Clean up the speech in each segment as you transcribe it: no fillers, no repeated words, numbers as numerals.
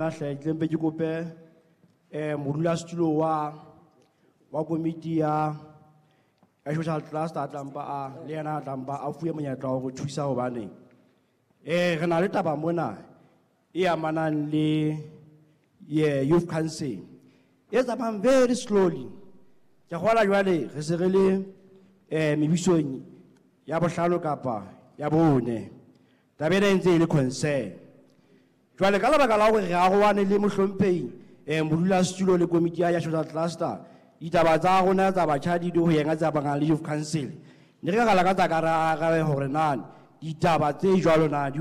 Hle ke mpe ke kope modulasetulo wa komiti ya social cluster a tlampa a le yena a tlampa a fuwe monyetla wa go thusa hobane re na le taba mona e amanang le ye youth council e tsamayang very slowly. Ke kgola jwale re se re le mebusong ya bohlano kapa ya bone. Taba ena e ntse e le concern. Jwale ka lebaka la hore re arohane le mohlomphehi modulasetulo le komiti ya social cluster, ditaba tsa rona tsa batjha di ho yena tsa bang le youth council. Ne re ka lakatsa ka ra arabe hore na ditaba tse jwalo na di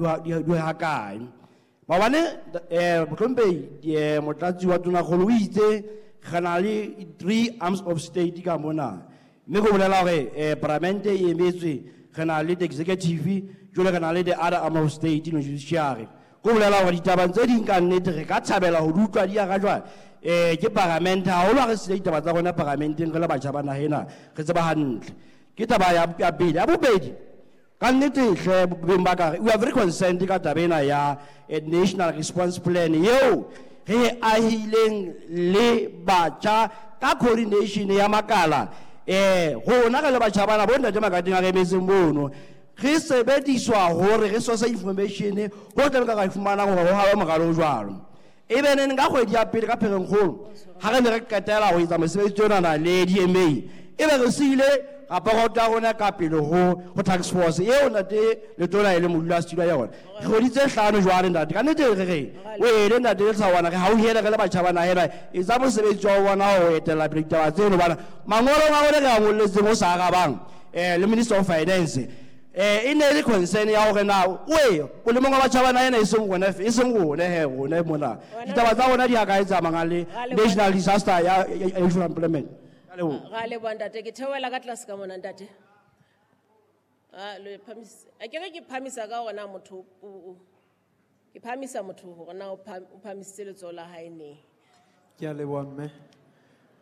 ha kae. Maobane mohlomphehi motlatsi wa Tonakgolo o itse re na le 3 arms of state ka mona. Mme go bolela hore parliament e emetswe, re na le the executive, jwale re na le the other arm of state, le judiciary. Go bolela hore ditaba tse ding ka nnete re ka thabela ho di utlwa di arajwa ke parliament, haholo ha re sile ditaba tsa rona parlamenteng re le batjha ba naha ena, re tseba hantle. Ke taba ya pele. Ya bobedi, ka nnete hle beng ba ka, we are very concerned ka taba ena ya national response plan eo re e ahileng le batjha ka coordination ya makala. Rona re le batjha bana bo ntate Makateng a re emetseng mono, re sebediswa hore re source information ho tla ka ra fumana hore ho hawe moralo o jwalo. E be neng ka kgwedi ya pele ka Pherenkgolo ha re ne re qetela ho etsa mosebetsi onana le DMA, e be re siile raporoto ya rona ka pele ho task force eo ntate Letona e le modulasetulo ya yona. Re kgwedi tse hlano jwale ntate, ka nnete re re o ele ntate Lesawana, re hauhele re le batjha ba naha ena, etsa mosebetsi wa bona ho etella pele ditaba tseno, hobane mangolong a rona re a ngolletseng o sa arabang le Minister of Finance e ne le concern ya hore na oe o le mongwe wa batjha ba naha ena, e seng rona e seng rona he rona mona ditaba tsa rona di a ka etsa le national disaster ya youth employment. Ra leboha ntate, ke theohela ka tlase ka mona ntate. Le phamisa, a ke re ke phamisa ka hore na motho o ke phamisa motho hore na o phamisitse letsoho la hae neng. Ke a leboha mme.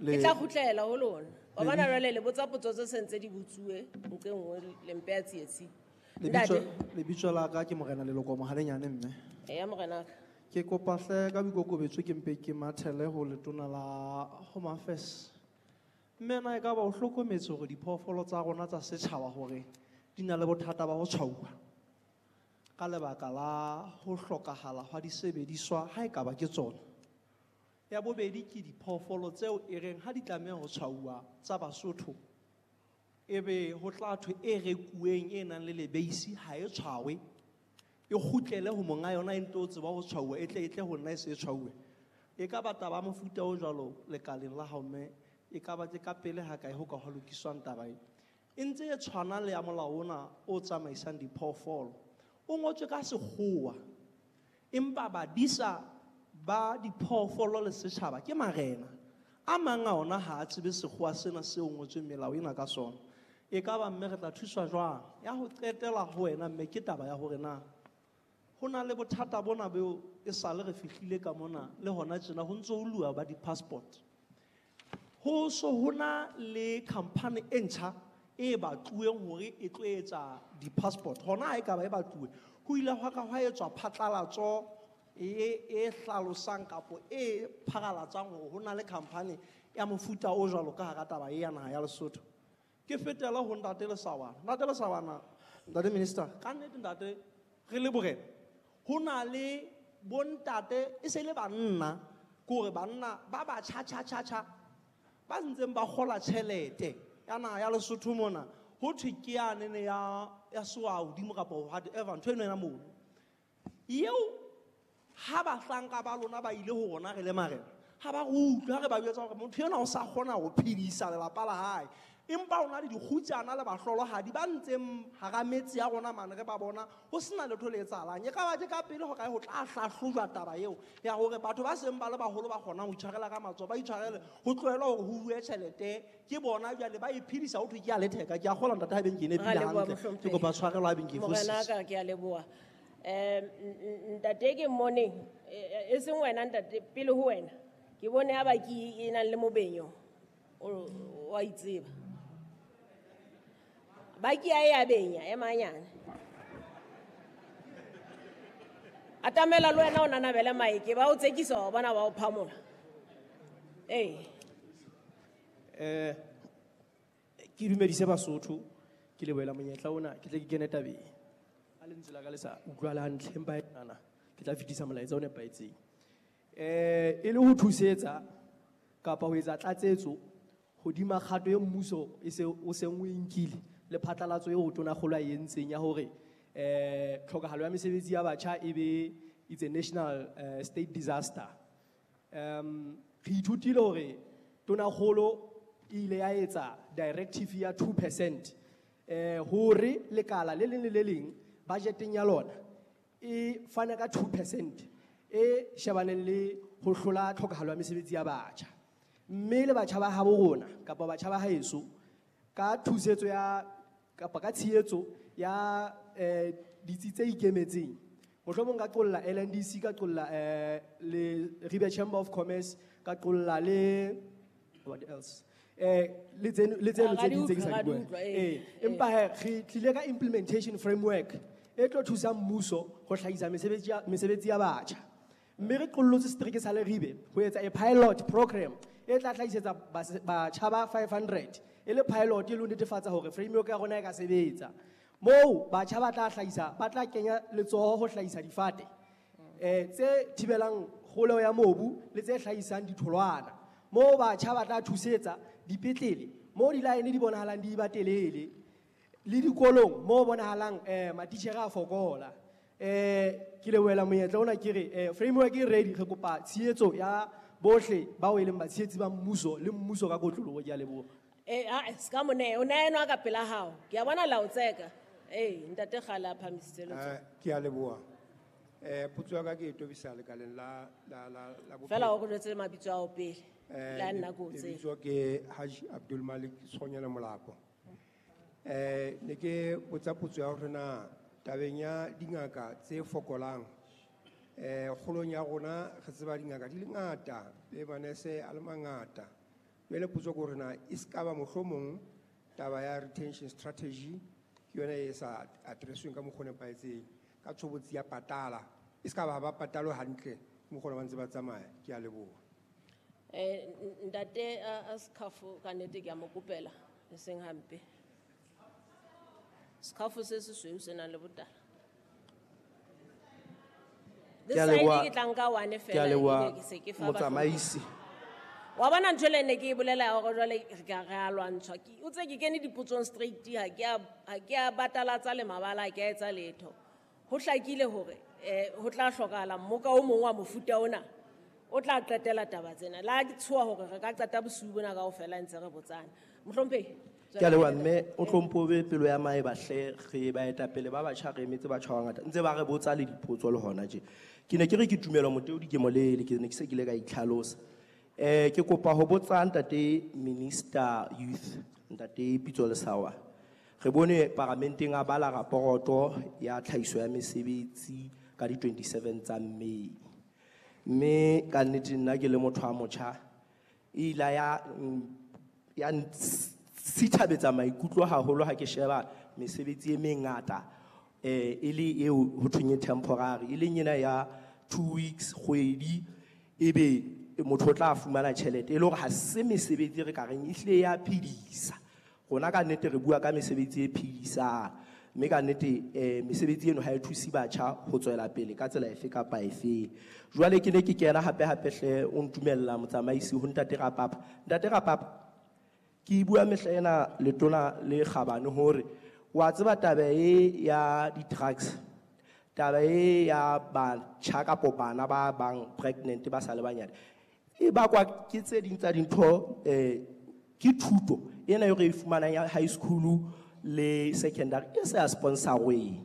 Ke tla kgutlela ho lona. Wa bona jwale le botsa potso tse sentse di botsuwe nqe nngwe le mpe ya tsietsi. Ntate. Lebitso la ka ke Morena Leloko Mohalenyane mme. Eya morena ka. Ke kopa hle ka boikokobetso ke mpe ke mathele ho letona la Home Affairs. Mme na e ka ba o hlokometse hore diphoofolo tsa rona tsa setjhaba hore di na le bothata ba ho tshwauwa ka lebaka la ho hlokahala hwa disebediswa ha e ka ba ke tsona. Ya bobedi ke diphoofolo tseo e reng ha di tlameha ho tshwauwa tsa Basotho, ebe ho tla thwe e rekuweng e nang le lebeisi ha e tshwawe, e kgutlele ho monga yona e nto tseba ho tshwauwa, e tle e tle ho nna e se e tshwauwe. E ka ba taba ya mofuta o jwalo lekaleng la hao mme, e ka ba ke ka pele ha kae ho ka hwa lokiswang taba e. E ntse e tshwana le ya molao ona o tsamaisang diphoofolo. O ngotswe ka sekgowa, empa badisa ba diphoofolo le setjhaba ke marena. A mang a ona ha a tsebe sekgowa sena seo ngotsweng melao ena ka sona. E ka ba mme re tla thuswa jwang? Ya ho qetela ho wena mme ke taba ya hore na ho na le bothata bona beo e sale re fihlile ka mona le hona tjena ho ntso ho lua ba di-passport. Ho so hona le company e ntjha e batluweng hore e tlo etsa di-passport. Hona ha e ka ba e batluwe, ho ile hwa ka hwa etswa phatlalatso e hlalosang kapo e pharalatsang hore ho na le company ya mofuta o jwalo ka hara taba e ya naha ya Lesotho. Ke fetela ho ntate Lesawana. Ntate Lesawana, ntate Minister, ka nnete ntate re le borena. Ho na le bontate e se le banna, ke hore banna ba batjha tjha tjha tjha ba ntseng ba kgola tjhelete ya naha ya Lesotho mona, ho thwe ke yane ya soa hodimo kapa whatever ntho eno ena mono. Eo ha bahlanka ba lona ba ile ho rona re le marena, ha ba re utlwe ha re ba jwetsa hore motho enwa o sa kgona ho phedisa lelapa la hae, empa o na le dikgutsana le bahlolohadi ba ntseng hara metse ya rona mane re ba bona ho sena letho le etsahalang. E ka ba ke ka pele hore ho tla hlahlojwa taba eo ya hore batho ba seng ba le baholo ba kgonang ho itshwarela ka matsoho, ba itshwarele, ho tlohela hore ho bue tjhelete ke bona jwale ba e phedisa, ho thwe ke ya letheka. Ke a kgolwa ntate ha beng ke nepile Ra leboha, hantle. mohlomphehi. Ke kopa tshwarelo ha beng ke Morena fositse. ka, ke a leboha. Ntate ke mmoneng, e seng wena ntate, pele ho wena ke bone ha ba ke e nang le mobenyo o wa itseba. Ba ke ya e ya benya, e manyane. Atamela le wena o nanabele maeke, ba o tsekisa wa bona ba o phamola. Ee. Ke dumedise Basotho, ke lebohela monyetla ona, ke tle ke kene tabeng. Ha lentswe la ka le sa utlwala hantle, empa nana ke tla fetisa molaetsa o nepahetseng. E le ho thusetsa kapa ho etsa tlatsetso hodima kgato e mmuso e se o seng o e nkile le phatlalatso eo tonakgolo a e entseng ya hore tlhokahalo ya mesebetsi ya batjha e be it's a national state disaster. Re ithutile hore tonakgolo e ile ya etsa directive ya 2% hore lekala le leng le le leng budgeteng ya lona e fana ka 2% e shebaneng le ho hlola tlhokahalo ya mesebetsi ya batjha. Mme le batjha ba habo rona kapa batjha ba haeso ka thusetso ya kapa ka tshehetso ya ditsi tse ikemetseng, mohlomong ka qolla LNDC, ka qolla le Ribe Chamber of Commerce, ka qolla le what else? Le tseno, le tseno tse ding tse ke sa di buang. Ga di utlwa, ee. Empa he, re tlile ka implementation framework e tlo thusang mmuso ho hlahisa mesebetsi ya batjha. Mme re qollotse setereke sa Leribe ho etsa a pilot program e tla hlahisetsa batjha ba 500 e le pilot e le ho netefatsa hore framework ya rona e ka sebetsa. Moo batjha ba tla hlahisa, ba tla kenya letsoho ho hlahisa difate, tse thibelang kgolo ya mobu le tse hlahisang ditholwana. Moo batjha ba tla thusetsa dipetlele, moo di-line di bonahalang di ba telele, le dikolong moo bonahalang matitjhere a fokola. Ke lebohela monyetla ona ke re framework e ready, re kopa tshehetso ya bohle bao e leng batshehetsi ba mmuso le mmuso ka kotloloho. Ke a leboha. Ha, se ka mo neha, o neha enwa ka pela hao. Ke a bona la o tseka. Ntate kgale a phahamisitse letsoho. Ke a leboha. Potso ya ka ke e tobisa lekaleng la bophelo. Fela o re jwetse mabitso ao pele. Le a nna ke o tseba. Lebitso ke Haji Abdul Malik Sonyana Molapo. Ne ke botsa potso ya hore na tabeng ya dingaka tse fokolang, kgolong ya rona re tseba dingaka di le ngata, le manese a le mangata. Jwale potso ke hore na e se ka ba mohlomong taba ya retention strategy ke yona e sa address-weng ka mokgwa o nepahetseng, ka tshobotsi ya patala. E se ka ba ha ba patalwe hantle, ke mokgwa ona ba ntse ba tsamaya. Ke a leboha. Ntate a Sekhafo, ka nnete ke a mo kopela, e seng hampe. Sekhafo se sesweu se nang le botala. Ke a This side leboha. ke tla nka one Ke a fela, leboha, ebe ke se ke fa batho. motsamaisi. Wa bona ntho le ne ke e bolela ya hore jwale re ka re a lwantshwa. Ke, o tse ke kene dipotsong straight, ha ke a batalatsa le mabala, ha ke a etsa letho. Ho hlakile hore, ho tla hlokahala mmoka o mong wa mofuta ona o tla qetela taba tsena. La ke tshoha hore re ka qeta bosiu bona kaofela ntse re botsana. Mohlomphehi, Ke a leboha mme, o hlomphe pelo ya maeba hle, re baetapele ba batjha, re emetse batjha ba bangata. Ntse ba re botsa le dipotso le hona tje. Ke ne ke re ke tumelo Moteodi ke molele, ke ne ke se ke ile ka itlhalosa. Ke kopa ho botsa ntate Minister Youth, ntate Pitso Lesawa. Re bone paramenteng a bala raporoto ya tlhahiso ya mesebetsi ka di 27 tsa May. Mme ka nnete nna ke le motho wa motjha, e ile ya sithabetsa maikutlo haholo ha ke sheba mesebetsi e mengata, e le eo ho thweng e temporary, e leng ena ya 2 weeks, kgwedi, ebe motho o tla fumana tjhelete, e le hore ha se mesebetsi re ka reng e hlile ya phedisa. Rona ka nnete re bua ka mesebetsi e phedisang, mme ka nnete, mesebetsi eno ha e thuse batjha ho tswela pele ka tsela efe kapa efe. Jwale ke ne ke kena hape hape hle, o ntumella motsamaisi ho ntate Rapapa. Ntate Rapapa, ke bua mehla ena letona le kgabane hore wa tseba taba e ya di-drugs, taba e ya batjha kapo bana ba bang pregnant ba sa le banyane, e bakwa ke tse ding tsa dintho, ke thuto ena eo re e fumanang ya high school le secondary e sa sponsorweng.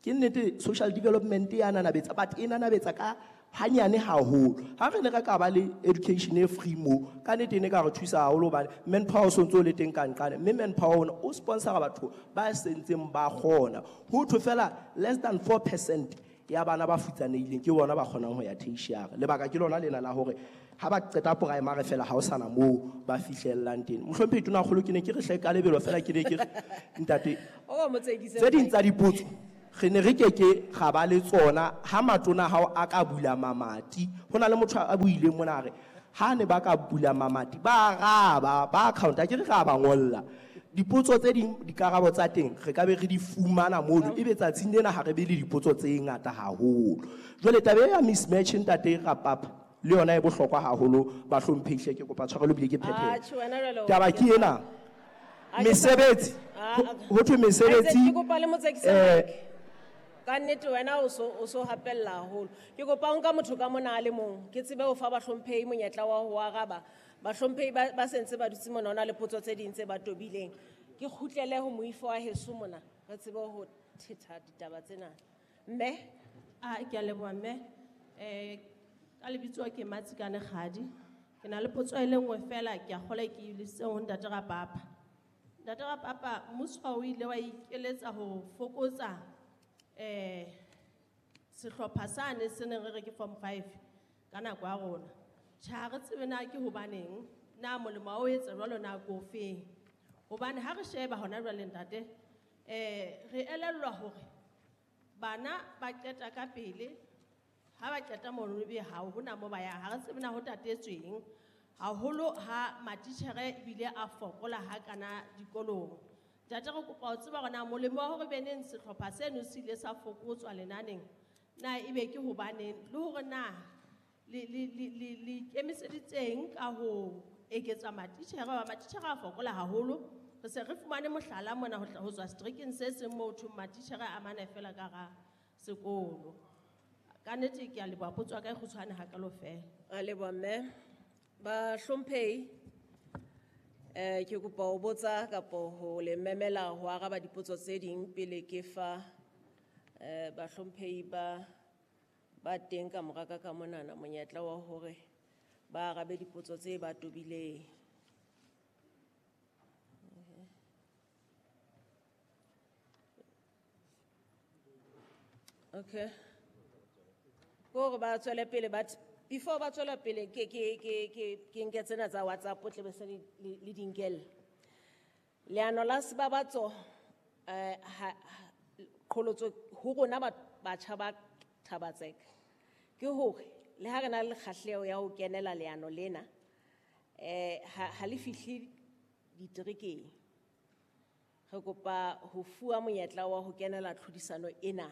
Ke nnete social development ya nanabetsa, but e nanabetsa ka hanyane haholo. Ha re ne re ka ba le education e free mo, ka nnete e ne ka re thusa haholo hobane manpower o sontso o le teng ka nqane, mme manpower ona o sponsora batho ba sentseng ba kgona. Ho thwe fela less than 4% ya bana ba futsanehileng ke bona ba kgonang ho ya tertiary. Lebaka ke lona lena la hore ha ba qeta primary fela ha o sana moo ba fihlellang teng. Mohlomphehi Tonakgolo, ke ne ke re hle ka lebelo fela, ke ne ke re, ntate, O mo tsekise tse ding tsa dipotso Re ne re keke ra ba le tsona ha matona hao a ka bula mamati. Ho na le motho a buileng mona a re, ha ne ba ka bula mamati, ba araba, ba account-a, ke re ra ba ngolla. Dipotso tse ding, dikarabo tsa teng, re ka be re di fumana mono, ebe tsatsing lena ha re be le dipotso tse ngata haholo. Jwale taba ya mismatch ntate Rapapa, le yona e bohlokwa haholo, bahlomphehi hle, ke kopa tshwarelo ebile ke phethele. Atjhe, wena jwale o Taba ke ena, mesebetsi, ho thwe mesebetsi, Ke kopa le motsekise mic. Ka nnete wena o so hapella haholo. Ke kopa o nka motho ka mona a le mong, ke tsebe ho fa bahlomphehi monyetla wa ho araba. Bahlomphehi ba sentse ba dutse mona, ho na le potso tse ding tse ba tobileng. Ke kgutlele ho moifo wa heso mona, re tsebe ho thetha ditaba tsena. Mme? Ah, ke a leboha mme. Ka lebitso ke Matsikane Kgadi. Ke na le potso e le nngwe fela, ke a kgolwa ke e lebisitse ho Ntate Rapapa. Ntate Rapapa, mmuso o ile wa ikeletsa ho fokotsa, sehlopha sane se neng re re ke form 5 ka nako ya rona. Tjhe, ha re tsebe na ke hobaneng, na molemo wa ho etsa jwalo na ke ofeng. Hobane ha re sheba hona jwale ntate, re elellwa hore bana ba qeta ka pele, ha ba qeta mono ebe ha hona moo ba yang, ha re tsebe na ho tatetsweng. Haholo ha matitjhere ebile a fokola ha kana dikolong. Ntate, re kopa ho tseba hore na molemo wa hore beneng sehlopha seno se ile sa fokotswa lenaneng, na ebe ke hobaneng, le hore na le ikemiseditseng ka ho eketsa matitjhere, ba matitjhere a fokola haholo. Re se re fumane mohlala mona ho tswa seterekeng se seng moo ho thweng matitjhere a mane fela ka hara sekolo. Ka nnete ke a leboha, potso ya ka e kgutshwane hakalo fela. A leboha mme. Bahlomphehi, ke kopa ho botsa kapo ho le memela ho araba dipotso tse ding pele ke fa, bahlomphehi ba teng ka mora ka ka monana monyetla wa hore ba arabe dipotso tse ba tobileng. Okay. Ke hore ba tswele pele, but before ba tswela pele, ke nke tsena tsa WhatsApp, tle be se le di nkelle. Leano la Sebabatso, ha, qholotso ho rona batjha ba Thaba-Tseka, ke hore le ha re na le kgahleho ya ho kenela leano lena, ha le fihle diterekeng. Re kopa ho fuwa monyetla wa ho kenela tlhodisano ena.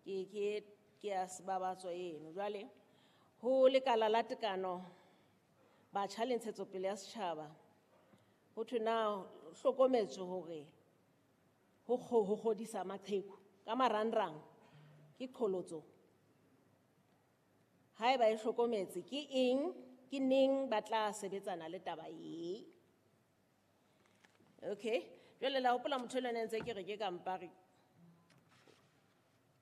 Ke ya Sebabatso eno. Jwale, ho lekala la tekano, batjha le ntshetsopele ya setjhaba, ho thwe na hlokometswe hore ho kgodisa maqheku ka marangrang ke qholotso. Haeba e hlokometse, ke eng, ke neng ba tla sebetsana le taba e? Okay. Jwale la hopola motho enwa ne ntse ke re ke kampare.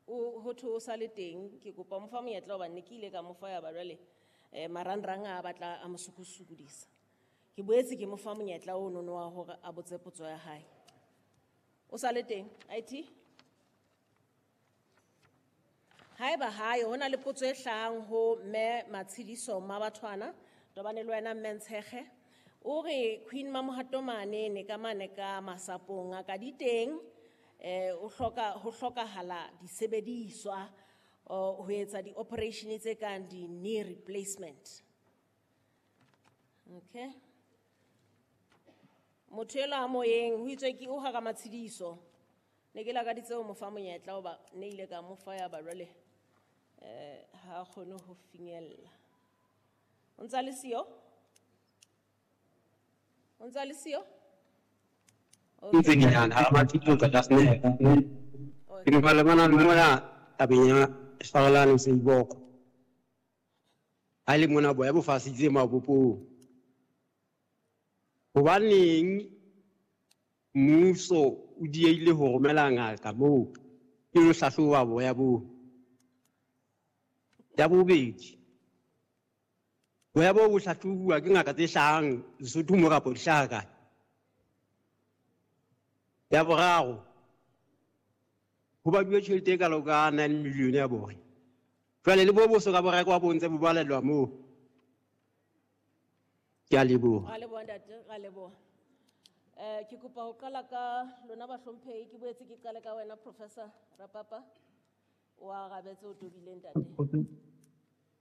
O ho thwe o sa le teng, ke kopa mo fa monyetla hobane ne ke ile ka mo fa ya ba jwale, marangrang a batla a mo sokosokodisa. Ke boetse ke mo fa monyetla o nono wa hore a botse potso ya hae. O sa le teng, IT? Haeba hae, ho na le potso e hlahang ho mme Matshidiso Mmabathwana, tobane le wena mme Ntshekge. O re Queen Mamohato mane ne ka mane ka masapong a ka di teng, o hloka, ho hlokahala disebediswa, ho etsa di-operation tse kang di-knee replacement. Okay. Motho elwa a moyeng, ho itswe ke o hara Matshidiso. Ne ke lakaditse ho mo fa monyetla hoba ne ile ka mo fa ya ba jwale, ha a kgone ho finyella. O ntsa le siyo? O ntsa le siyo? Okay. Ntse ke yana, ha Matshidiso ka tlase ne. Ke ne ba lebana le mona tabeng ya Farolane Seiboko. Ha le mona boya bo fasitse mabopong. Hobaneng mmuso o diehile ho romela ngaka moo e lo hlahloba boya boo? Ya bobedi, boya boo bo hlahlobuwa ke ngaka tse hlahang Lesotho mo kapa di hlaha kae? Ya boraro, ho baduwe tjhelete e kalo ka 9 million ya boya. Jwale le bo bo soka bo rekwa bo ntse bo balellwa moo. Ke a leboha. Ra leboha ntate, ra leboha. Ke kopa ho qala ka lona bahlomphehi, ke boetse ke qale ka wena Professor Rapapa. O arabetse o tobileng ntate.